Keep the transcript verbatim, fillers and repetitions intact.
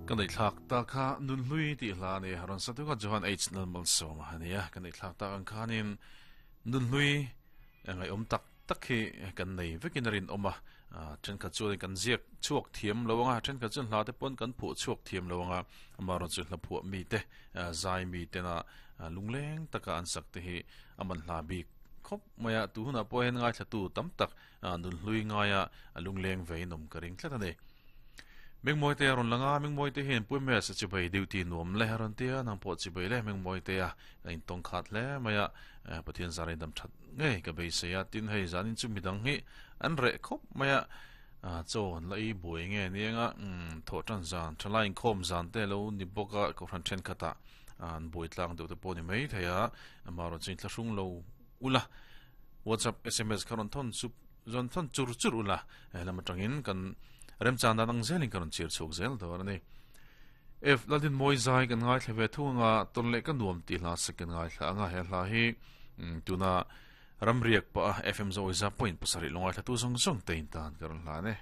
Kan nei thlak ta kha nun hlui ti hla ni ron satu ka Johan H Nalmal Soma ania kan nei thlak ta ang khanin nun hlui ngai om tak tak hi kan nei vekin rin oma then kha chuan kan ziak chuak thiam lowanga then kha chuan hla te pon kan phu chuak thiam lowanga amaron chu hla phu mi te zai mi te na lungleng taka an sak te hi aman hla bik khop maya tu huna po hen ngai thla tu tam tak nun hlui ngaia lungleng veinom ka ring tlat ani Meng moi te ron langa meng moi te hen pui me sa chi bai duty nuam le ron te nang po chi bai le meng moi te a in tong khat le maya pathian zarin dam that nge ka bei se ya tin hei zanin chu midang hi an re khop maya chaw an la i buai nge nianga tho tan zan thalain khom zan te lo ni boka ko ran then khata an buai tlang deuh te pawh ni mai theia amaro chin thla hrung lo ula WhatsApp S M S kharon thon sup zon thon chur chur ula lama tangin kan rem chan dan ang zelin karon chir chuk zel do ani F ladin moi zai kan ngai thleve thunga ton le kan nuam ti hla second ngai thla anga he hla hi tuna ramriak pa F M zo za point pasarih longai thla tu zong zong tein tan karon hla ne.